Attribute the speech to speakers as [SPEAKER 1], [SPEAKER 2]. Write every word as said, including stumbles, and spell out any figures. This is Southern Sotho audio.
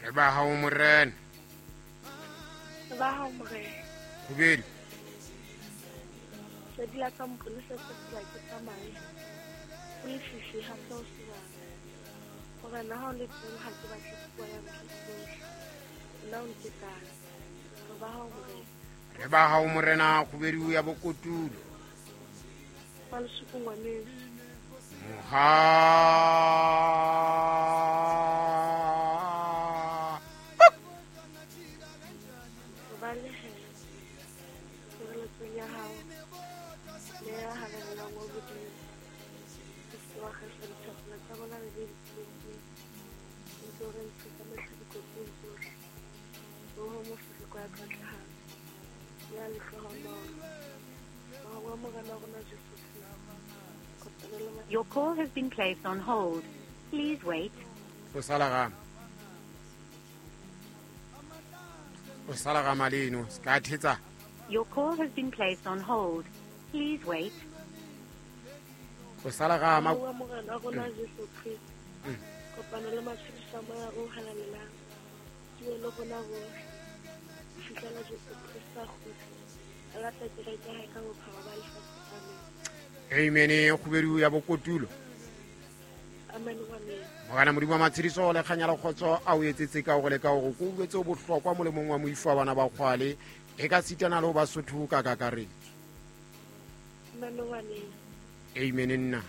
[SPEAKER 1] Re ba hao morena.
[SPEAKER 2] Re ba hao morena.
[SPEAKER 1] Khubedu.
[SPEAKER 2] Sedi la ka mponesa se tsela ke tsamaye. Ho lefifi ha se ho sebaka. Morena ha o le teng ha ke batle puo ya ntho tsohle. Nna o ntekane. Re ba hao morena.
[SPEAKER 1] Re ba hao morena Khubedu ya bokotulo.
[SPEAKER 2] Malesuku ngwaneso.
[SPEAKER 1] Moha.
[SPEAKER 2] Re balehela tshireletsong ya hao le ya halalelang wa Modimo. O se ke wa kgesa dithapelo tsa rona re le ditsietsing, o ntse o re ntshe ka mehla dikotsing tsohle. Ho mofereko ya tlwatlehang le ya lehlohonolo. Mohau wa Morena wa rona Jesu Kreste. Kopano le ma-
[SPEAKER 3] Your call has been placed on hold. Please wait.
[SPEAKER 1] O sala gama. O sala gama leno, se ka thetsa.
[SPEAKER 3] Your call has been placed on hold. Please wait.
[SPEAKER 1] O sala gama.
[SPEAKER 2] Mohau wa Morena wa rona Jesu Kreste. Kopano le matshediso a Moya o halalelang. Di be le rona bohle. Ho fihlela Jesu Kreste a kgutla. A lata kereke ya hae ka bophara ba lefatshe. Amen.
[SPEAKER 1] Amen. Khubedu ya bokotulo.
[SPEAKER 2] Amen ngwaneso.
[SPEAKER 1] Morena Modimo wa matshediso le kganya le kgotso a o etsetse ka hore le ka hore ko utlwetse o bohlokwa molemong wa moifo wa bana ba kgwale e ka sitana le ho Basotho ka kakaretso.
[SPEAKER 2] Amen ngwaneso.
[SPEAKER 1] Amen nna.